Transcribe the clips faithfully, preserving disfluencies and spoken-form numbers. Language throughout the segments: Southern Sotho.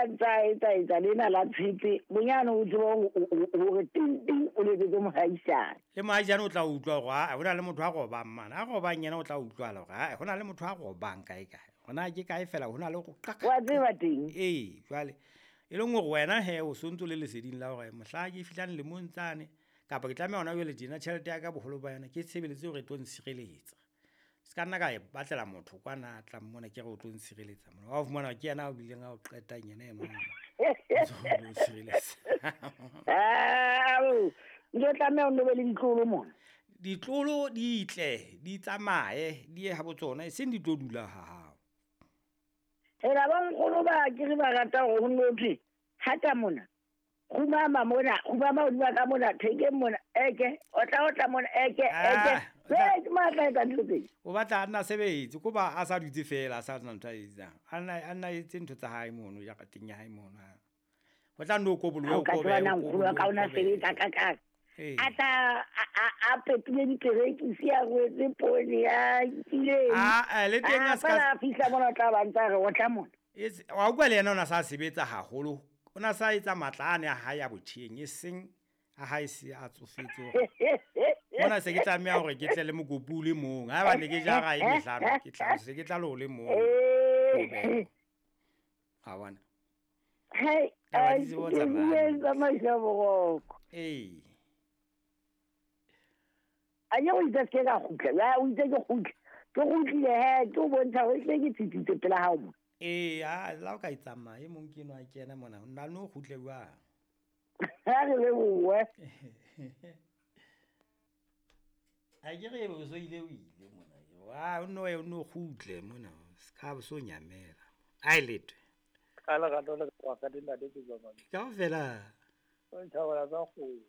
a ntsa etsa etsa lena la tshepe bonyane o tsebe hore ting ting o letsetse mohaisane. Le mohaisane o tla utlwa hore a hona le motho a robang mane. A robang yena o tla utlwala hore a hona le motho a robang kae kae. Hona ke kae fela hona le go qaka. Wa tseba teng. Ee, jwale e leng hore wena he o sontso le leseding la hore mohla ke fihlang lemong tsane kapa ke tlameha hona jwale tjena tjhelete ya ka boholo ba yona ke tshebeletse hore e tlo ntshireletsa. Se ka nna ka e batlela motho kwana a tlang mona ke re o tlo ntshireletsa mona. Wa fumana ke yena a bileng a o qetang yena e mong. O tshireletsa. Ah, ntlo tlameha o nne be le ditlolo mona. Ditlolo di tle, di tsamaye, di ye ha botsona, e seng di tlo dula ha hao. Hela ba nkgono ba ke re ba rata hore ho nno thwe hata mona. Kgumama mona, kgumama hodima ka mona, thekeng mona, eke, otla otla mona, eke, eke. Ah, Ke matla etsa ntho tse. O batla a nna sebetse, ko ba a sa dutse fela, a sa nna ntho a etsang. A nna a nna etse ntho tsa hae mono, ya ka teng ya hae mono. Ho tla nno kobolowe, Ha o ka o kobe, tseba na o nkgono wa ka o na kobe. sebetsa ka ka. Ee. A tla a, a, a pepile diperekisi, a rwetse poone, a nkile. Ah, eh, le teng Ah, a ska fela a fihla mona o tla ba ntsa re o tla mona. Etse, wa utlwa le yena o na sa sebetsa haholo. O na sa etsa matla ane a hae a botjheng, e seng a hae se a tsofetse hore. Mona se ke tlameha hore ke tle le mokopu o le mong. Haeba ne ke jara e mehlano, ke tla se ke tla le o le mong. Eh. Ha bona. Hei, Taba ai, di tsebo ke tsamaya bue hantle. tsamaisa boroko. Ee. A ke o itse se ke ka kgutla. Ya, o itse ke kgutle. Ke kgutlile he, ke o bontsha hore ehlile ke tsitsitse pela hao mona. Ee, ha, la o ka e tsamaya, e mong ke enwa a kena mona, nna no kgutle jwang? Ha re lebohe. Ha ke re o so ile o ile mona. Wa, o no ye, o no kgutle mona, se ka bo so nyamela. A e letwe. Ka lerato le ka ka dintate tse jwang. Kaofela. O nthabela tsa kgomo.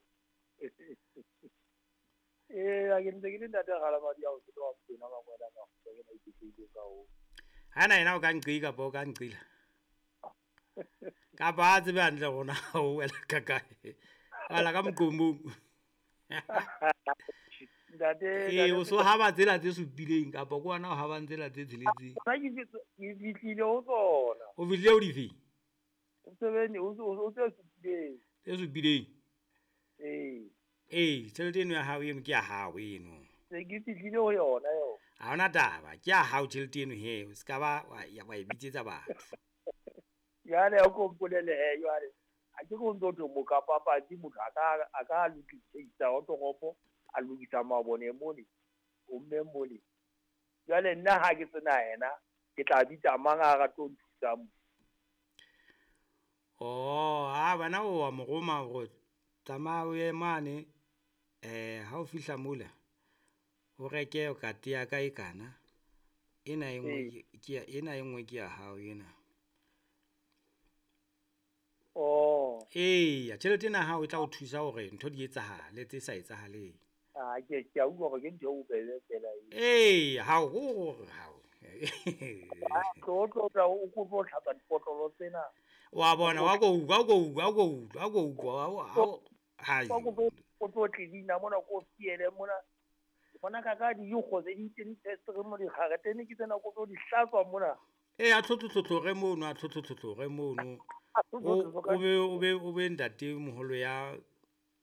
Ee, a ke ntse ke le ntate Ralamadi a o ke wa Mokwena Mangwele a Makgutla, ke na iketlehileng ka hoo. Ha na yena o ka nqi kapa o ka nqila. Kapa a tsebe hantle rona o wela ka kae. Wela ka moqomong. Ntate, Ee, ntate o so haba tsela tse supileng kapa ke wena o habang tsela tse tsheletseng. Nna ke fihlile, ke fihlile ho tsona. O fihlile ho dife? O sebene, o, o, o tse supileng. Tse supileng? Ee. Ee, tjhelete eno ya hao eno ke ya hao eno. Se ke fihlile ho yona eo. Ha hona taba, ke ya hao tjhelete eno he, o ska ba wa ya wa e bitsetsa batho. Jwale o ko mpolelle he jwale. Ha ke go ntso thwe mokapapatsi motho a ka, a ka lokisa wa toropo, a lokisa mabone mole, o mme mole. Jwale nna ha ke sena yena, ke tla bitsa mang a rate ho nthusa mo? Oh, ha bana o wa mo roma hore tsamaya o ye mane, eh, ha o fihla mola, o reke kate ya ka e kana. Ena e nngwe Ee. ke, ke ya, ena e nngwe ke ya hao ena. Oh. Eya, tjhelete ena ya hao e tla o thusa hore ntho di etsahale tse sa etsahaleng. Ah, ke, ke a utlwa hore ke ntho e bobebe fela eo. Ee, ha o hore ha o. Ah, tlo, tlo, tla, o kope ho tlhatswa dipotlolo tsena. Wa bona, wa ko utlwa, wa ko utlwa, wa ko utlwa, wa ko utlwa, wa, wa, wa, hai. Wa kope, o tlo clean-a mona, ko fiele mona. Bona ka ka dinkgo tse di teng di mo dikgaretene ke tsena ko tlo di hlatswa mona. Ee, a tlhotlhotlhotlhore mono, a tlhotlhotlhotlhore mono. A O, tlhotlhotlhotlhore. o be, o be, o be ntate moholo ya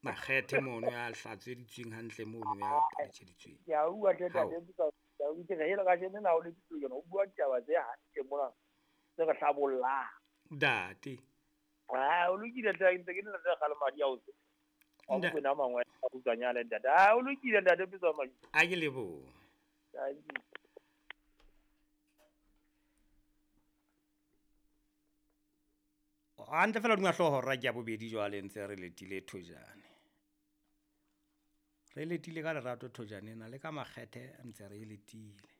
makgethe mono, ya hlatsweditsweng hantle mono, ya phetsheditsweng. Ke a utlwa hle, Hao. ntate, ke a utlwa, ke re hela kajeno na o le pitso yona, o bua ditaba tse hantle mona, tse re hlabollang. Ntate. Ah, o lokile hle, ntse ke le ntate Kgalemadi a o tse. Wa Nda- Mokwena Mangwele a kgutswanyane, ntate. Ah, o lokile ntate Pitso Madi. A ke lebohe. Thank you. Hantle fela hodima hlooho hora ke ya bobedi jwale ntse re letile thojane. Re letile ka lerato thojane ena le ka makgethe ntse re e letile.